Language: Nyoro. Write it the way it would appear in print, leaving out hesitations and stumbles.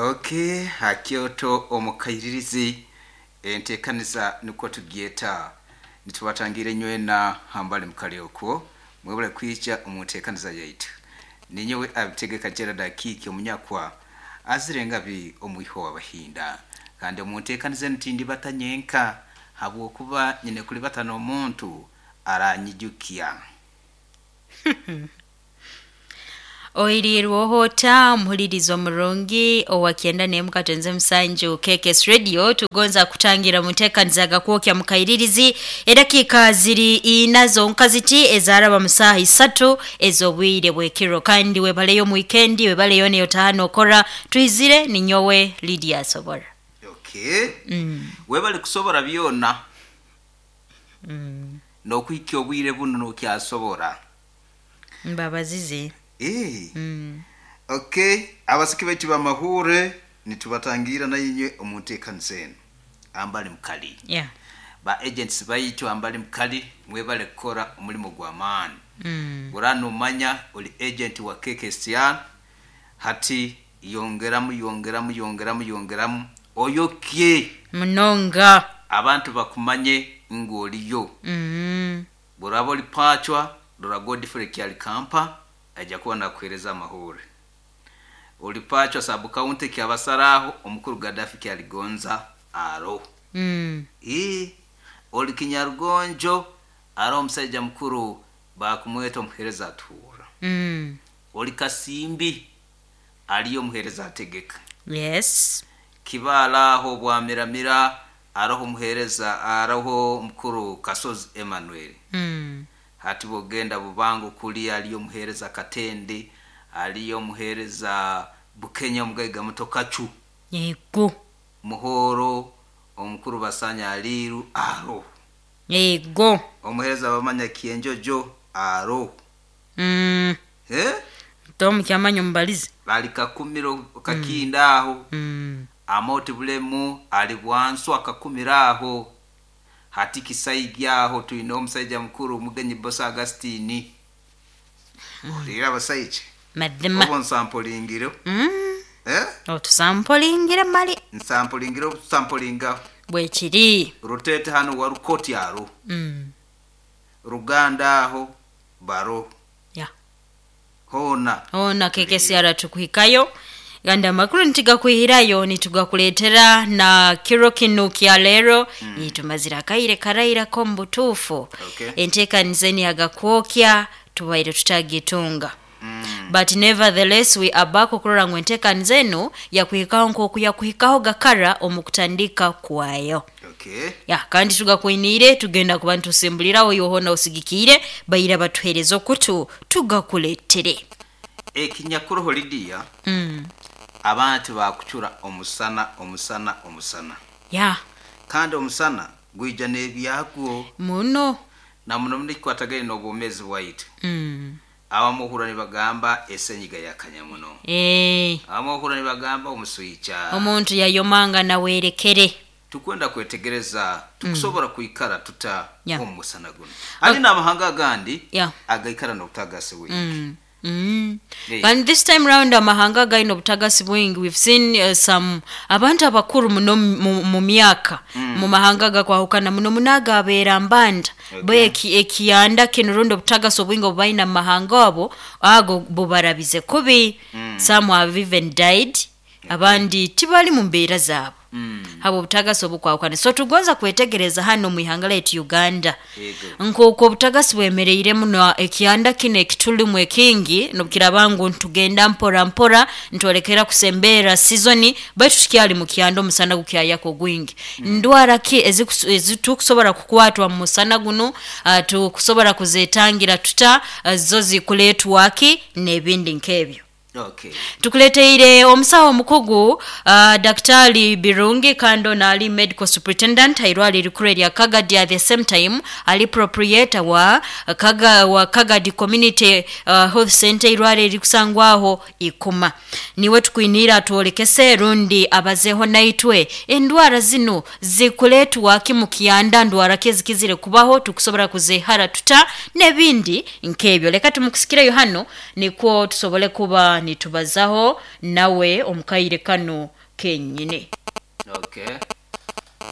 Okay, ha Kyoto omukairirizi entekaniza nukwo tugyeta nitubatangira enywena hambali mukali okwo mwebale kwija omu ntekaniza yaitu. Ninyowe abitegeka Gerald Akiiki omunyakwa azire ngabi omwiho w'abahinda, kandi omu ntekaniza enu tindibata nyenka habwokuba nyine kulibata n'omuntu aranyijukya. Oirirweho ota omuhulirizi omurungi owa kyenda n'emu katonze musanju KKS Radio. Tugonza kutangira muteekaniza gakwokya mukairirizi edakiika ziri ina zonka ziti ezaraba mu saaha isatu ez'obwire bw'ekiro, kandi webaleyo mu wikendi, webaleyo neyo taano okora. Twizire ninyowe Lydia Asobora. Okay. Webale kusobora byona n'okuhikya obwire bunu nokyasobora. Mbabazize. Okay, abasiki baitu bamahure nitubatangira nainywe omu nteekaniza enu ambali mukali. Ba agents baitu ambali mukali mwebale kukora omulimu gw'amaani. Ora nomanya oli agent wa KKSR, hati yongeramu yongeramu yongeramu yongeramu oyokye munonga abantu bakumanye ngu oliyo. Bworaba oli pachwa, rora Godfrey Kyalikampa aija kuba nakuheereza amahure. Oli pachwa sub county kyabasaraho omukuru Gaddafi Kyaligonza aro. Oli Kinyarugonjo aro omusaija mukuru bakumweta omuheereza atuhura. Oli Kasimbi aliyo omuheereza ategeka. Kibaala aho bwamiramira aroho omuheereza aroho omukuru Kasozi Emmanuel. Hati bwogenda Bubango kuli aliyo omuheereza Katende, aliyo omuheereza Bukenya omugaiga muto Kacu. Yego. Muhoro omukuru Basanya Aliru aro. Yego. Omuheereza bamanya Kienjojo aro. Tom kyamanya omubalizi. Ali Kakumiro Kakinda aho. Amoti Bulemu ali Bwansu akakumiro aho. Hati Kisaigi aho twine omusaija mukuru Mugenyi Bosa Augustine. Olira abasaija. Mazima. Obo nsampolingiro. Otusampolingire mali. Nsampolingiro otusampolinga. Bwekiri. Rutete hano warukoti aro. Ruganda aho baro. Hona. Hona KKSR tukuhikayo. Ganda amakuru nitigakwihirayo nitugakuleetera na kiro kinu kya leero. Tumazire akaire karairako mu butuufu. Enteekaniza eni yagakwokya tubaire tutagitunga. But nevertheless we are back okurora ngu enteekaniza enu yakuhikaho nk'oku yakuhikaho gakara omu kutandika kwayo. Ya, kandi tugakwiniire tugenda kuba nitusimbuliraho yohona osigikiire baira batuheereza okutu tugakuleetere. Ekinyakuroho Lydia, abantu bakucura omusana omusana omusana. Kandi omusana gwija n'ebyagwo muno na muno muno ekikwatagaine n'obwomeezi bwaitu. Abamu ohurra nibagamba esenyiga yakanya muno. Abamu ohurra nibagamba omuswica. Omuntu yayomanga nawerekere. Tukwenda kwetegereza tukusobora kwikara tuta omu musana guno. Hali n'amahanga agandi agaikara n'obutagasi bwingi. And this time round amahanga gaine obutagasi bwingi. We've seen some abantu abakuru muno mu myaka mu mahanga gakwahukana muno munaga abeera mbanda. Bo ekiyanda kinu rundi obutagasi obwingi obubaine mu mahanga abo ago bubarabize kubi. Some have even died. Abandi tibali mu mbeera zaabo. Habo obutagasi obukwahukana. So tugonza kwetegereza hano mu ihanga lyaitu Uganda. Nk'oku obutagasi bwemereire muno ekiyanda kino ekitulimu ekingi nobukiraba ngu ntugenda mpora mpora ntwolekera kusembera sizoni baitu tukyali mu kyanda omusana gukyayaka ogwingi. Ndwara ki ezitukusobora kukwatwa mu musana guno, tukusobora kuzetangira tuta, zo zikuleetwa ki n'ebindi nk'ebyo. Tukuleteire omusawo omukugu Daktari Birungi kandi ono ali medical superintendent airwali rikuru erya Kagadi, at the same time ali proprietor wa Kagadi Community Health Center irwali erikusangwaho Ikuma. Niwe tukwiniira atwolekese rundi abazeho naitwe endwara zino zikuleetwa ki mu kyanda, ndwara ki ezikizire kubaho tukusobora kuzehara tuta n'ebindi nk'ebyo. Leka tumukusikireyo hano nikwo tusobole kuba Nitubazaho nawe omu kaire kanu kenyini. Okay.